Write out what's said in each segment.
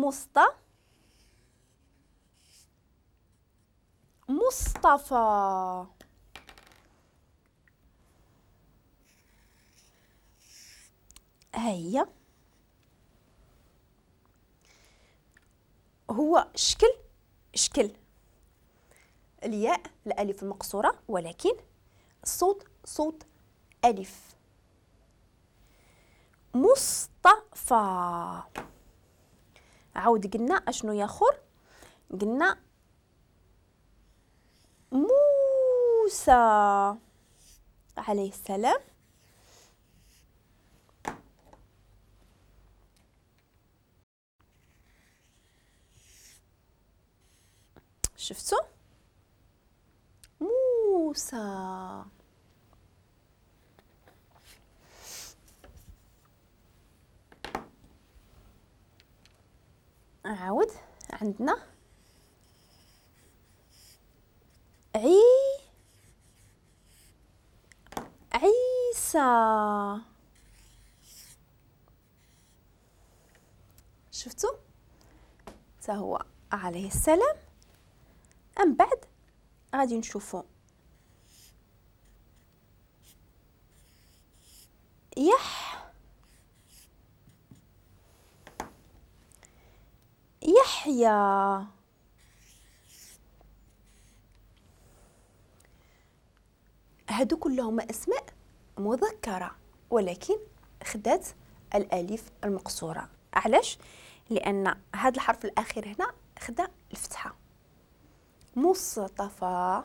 مصطفى مصطفى. هيا هو شكل الياء الالف المقصوره، ولكن الصوت صوت الف. مصطفى. عاود قلنا اشنو ياخر؟ قلنا موسى عليه السلام. شفتوا موسى. عاود عندنا عيسى. شفتوا حتى هو عليه السلام. من بعد غادي نشوفوا يحيى. هادو كلهم اسماء مذكره، ولكن خدات الالف المقصوره. علاش؟ لان هذا الحرف الاخير هنا خدا الفتحه. مصطفى،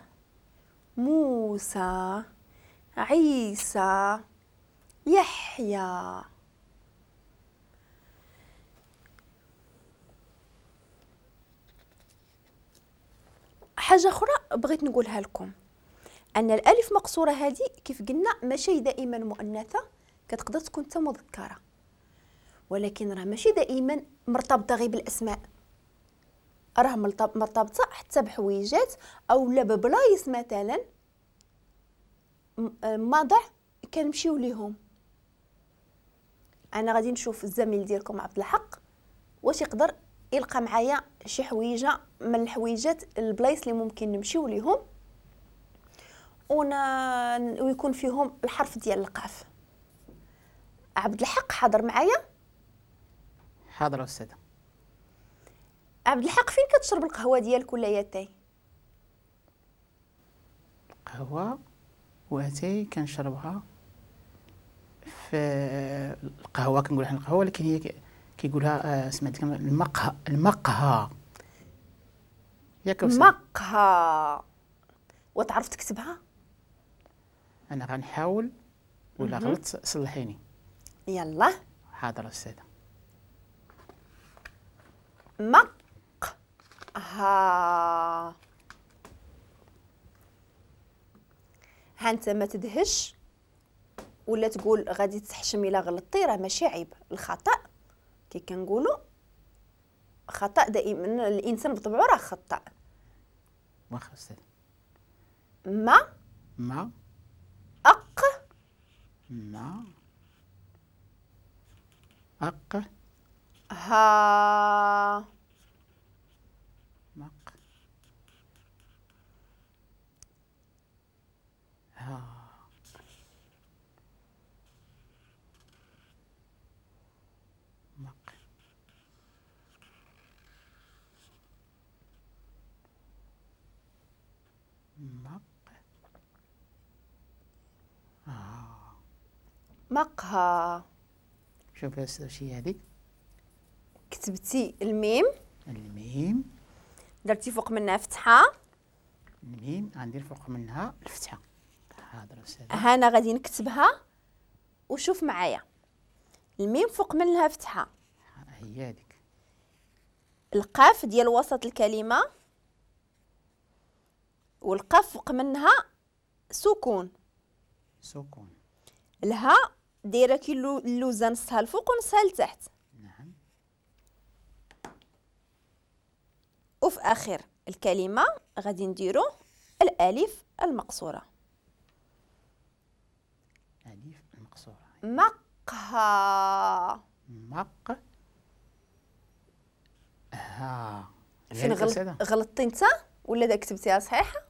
موسى، عيسى، يحيى. حاجة أخرى بغيت نقولها لكم، أن الألف مقصورة هذه كيف قلنا ماشي دائما مؤنثة، كتقدر تكون حتى مذكرة، ولكن راه ماشي دائما مرتبطة غير بالأسماء، راه مرتبطة حتى بحويجات أو لا ببلايص مثلا ماضع كنمشيو ليهم. أنا غادي نشوف الزميل ديالكم عبد الحق واش يقدر يلقى معايا شي حويجه من الحويجات البلايص اللي ممكن نمشيو ليهم ويكون فيهم الحرف ديال القاف. عبد الحق حاضر معايا؟ حاضر أستاذة. عبد الحق فين كتشرب القهوة ديالك ولا ياتاي؟ القهوة واتاي كنشربها في القهوة، كنقول حنا القهوة، ولكن هي كيقولها سمعت المقهى. المقهى ياك؟ مقهى. وتعرف تكتبها؟ انا غنحاول، ولا غلطت صلحيني. يلا. حاضر أستاذة. مقهى. ها انت ما تدهش ولا تقول غادي تحشم الا غلطتي، راه ماشي عيب الخطأ. كي كنقولوا خطأ دائما الانسان بطبعه راه خطأ. واخا أستاذ. ما ما أق ما أق ها مق ها مق مق مقهى. شوف يا أستاذ شي هذيك. كتبتي الميم. الميم درتي فوق منها فتحة. الميم غندير فوق منها الفتحة. حاضر أستاذ. ها أنا غادي نكتبها وشوف معايا. الميم فوق منها فتحة، هي هذيك. القاف ديال وسط الكلمة والقاف فوق منها سكون. سكون. الهاء دايره كي اللوزه نصها الفوق ونصها لتحت. نعم. وفي اخر الكلمه غادي نديرو الالف المقصوره. الف المقصوره. مقهى. مق فين غلطتي انت ولا دا كتبتيها صحيحه؟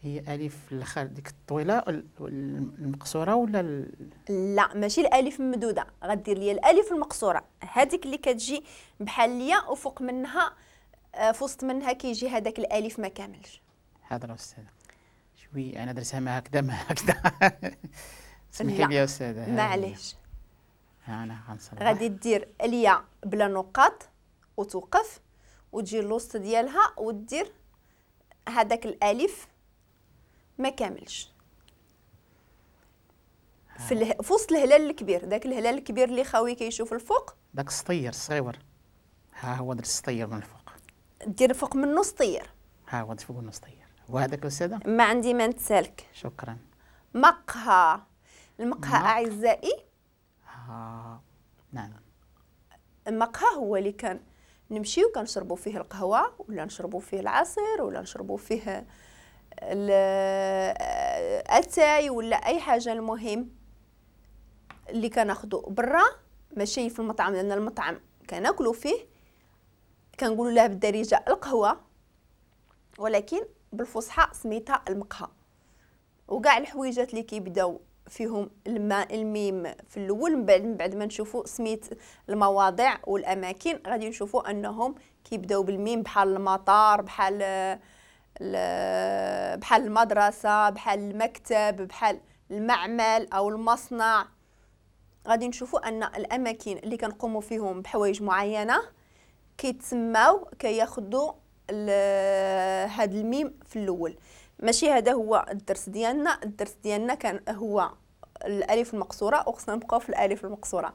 هي الف الاخر ديك الطويلة المقصورة ولا لا ماشي الالف الممدوده، غدير لي الالف المقصورة هذيك اللي كتجي بحال ليا وفوق منها في وسط منها كيجي هذاك الالف ما كاملش. حاضر استاذه، شوي انا درتها ما هكذا ما هكذا. سمحي لي يا استاذه. معليش. انا غنصلح. غادي دير الياء بلا نقاط وتوقف وتجي الوسط ديالها ودير هذاك الالف ما كاملش في وسط الهلال الكبير، داك الهلال الكبير اللي خاوي كيشوف الفوق، داك السطير الصغيور. ها هو درت السطير من الفوق، دير فوق منه سطير. ها هو درت فوق منه سطير. وهذاك استاذه ما عندي ما نتسالك. شكرا. مقهى. المقهى اعزائي، نعم، المقهى هو اللي كان نمشيو كنشربوا فيه القهوة ولا نشربوا فيه العصير ولا نشربوا فيه الاتاي ولا اي حاجة. المهم اللي كناخذو برا ماشي في المطعم، لان المطعم كناكلو فيه كنقولوا لها بالدارجة القهوة، ولكن بالفصحى سميتها المقهى. وكاع الحويجات اللي كيبداو فيهم الميم في الاول، من بعد ما نشوفوا سميت المواضع والاماكن غادي نشوفوا انهم كيبداو بالميم، بحال المطار، بحال المدرسة، بحال المكتب، بحال المعمل او المصنع. غادي نشوفوا ان الاماكن اللي كنقوموا فيهم بحوايج معينة كيتسماو كياخذوا هاد الميم في الاول. ماشي هذا هو الدرس ديالنا. الدرس ديالنا كان هو الالف المقصورة، وخصنا نبقاو في الالف المقصورة.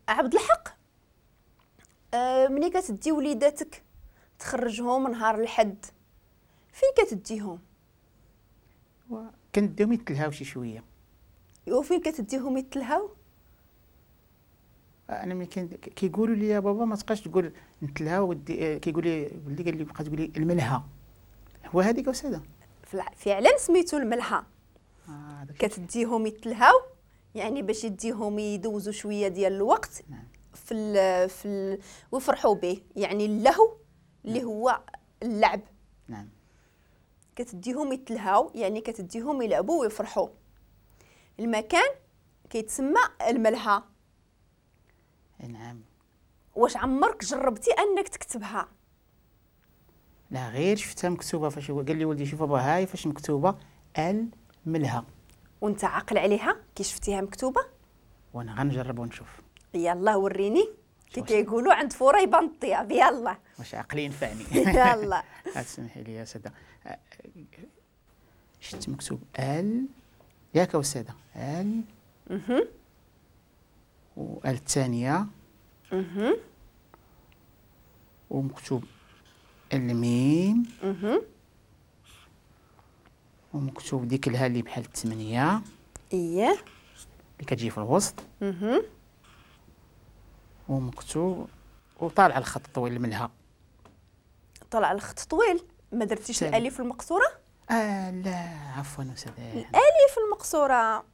عبد الحق، ملي كتدي وليداتك تخرجهم نهار الحد، فين كتديهم؟ كنديهم يتلهاو شي شوية. وفين كتديهم يتلهاو؟ انا ملي كيقولوا لي يا بابا ما تبقاش تقول نتلهاو، كيقول لي ولدي قال لي بقى تقول لي الملهى. هو هذيك استاذه فعلا سميتو الملهى. كتديهم يتلهاو يعني باش يديهم يدوزوا شوية ديال الوقت. نعم. في ويفرحوا به، يعني اللهو اللي نعم. هو اللعب. نعم. كتديهم يتلهاو يعني كتديهم يلعبوا ويفرحوا. المكان كيتسمى الملهى. نعم. واش عمرك جربتي انك تكتبها؟ لا، غير شفتها مكتوبة فاش قال لي ولدي شوف بابا هاي فاش مكتوبة الملهى. وانت عاقل عليها كي شفتيها مكتوبة؟ وانا غنجرب ونشوف. يلا وريني كي كيقولوا عند فورا يبان الطياب. يلا واش عقلي ينفعني. يلا تسمحي لي يا ساده، شفت مكتوب ال ياك استاذه ال وال الثانية ومكتوب الميم ومكتوب ديك الها اللي بحال الثمانية اييه اللي كتجي في الوسط ومكتوب وطالع الخط الطويل منها. طالع الخط طويل. ما درتيش الالف المقصورة؟ لا عفوا استاذه، الالف المقصورة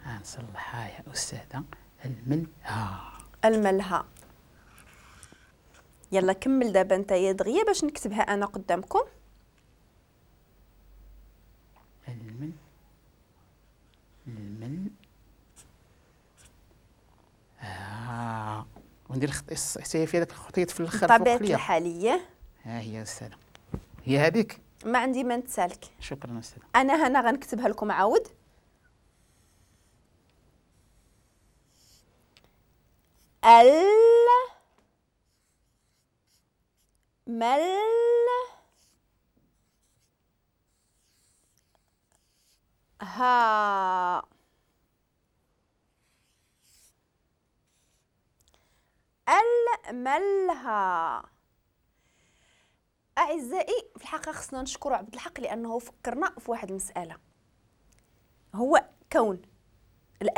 غنصلحها يا استاذه. الملهى. الملهى. يلا كمل دابا انت يا دغيا باش نكتبها انا قدامكم. المل المل وندير خط حتى هي في هذاك الخطيط في الاخر بطبيعة الحال. ها هي استاذه، هي هذيك. ما عندي ما نتسالك. شكرا استاذه. انا هنا غنكتبها لكم عاود. ال مل ها. الملهى. أعزائي في الحقيقة خصنا نشكر عبد الحق لأنه فكرنا في واحد المسألة، هو كون الألف